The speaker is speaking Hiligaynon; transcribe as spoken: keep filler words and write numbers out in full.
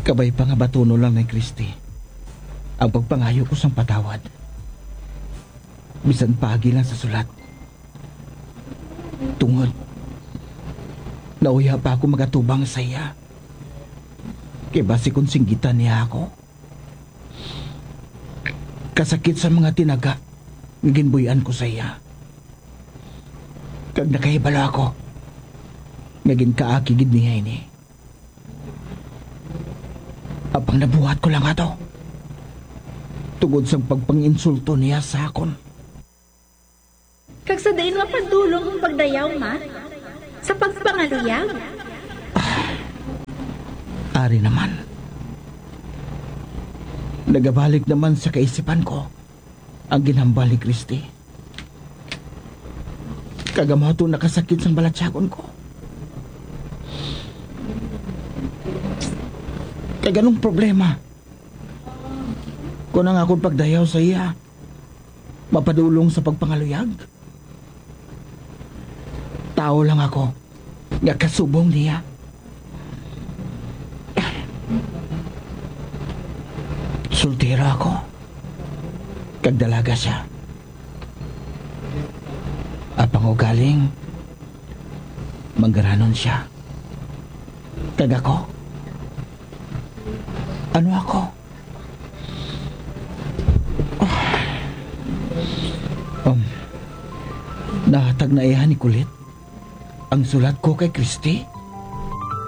Kabay pa nga batunon lang ni Christy ang pagpangayo ko sang patawad, bisan paagi lang sa sulat. Tungod, nauya pa ako magatubang sa iya. Kay basi kon singgitan niya ako, kasakit sa mga tinaga nga ginbuy-an ko sa iya. Kag nakahibalo ako nga ginkaaki gid niya ini. Apang nabuhat ko lang ato tungod sang pagpanginsulto niya sa akon. Kag sa diin mapadulong ang pagdayaw, ma? Sa pagpangaluyag? Ari naman. Nagabalik naman sa kaisipan ko ang ginhambal ni Christy. Kag amo ato nakasakit sang balatyagon ko. Kag anong problema kung ang akon pagdayaw sa iya mapadulong sa pagpangaluyag? Tawo lang ako nga kasubong niya. Soltero ako, kag dalaga sia. Apang ugaling manggaranon sia. Kag ako? Ano ako? Um, nahatag na iya ni Kulit ang sulat ko kay Christy?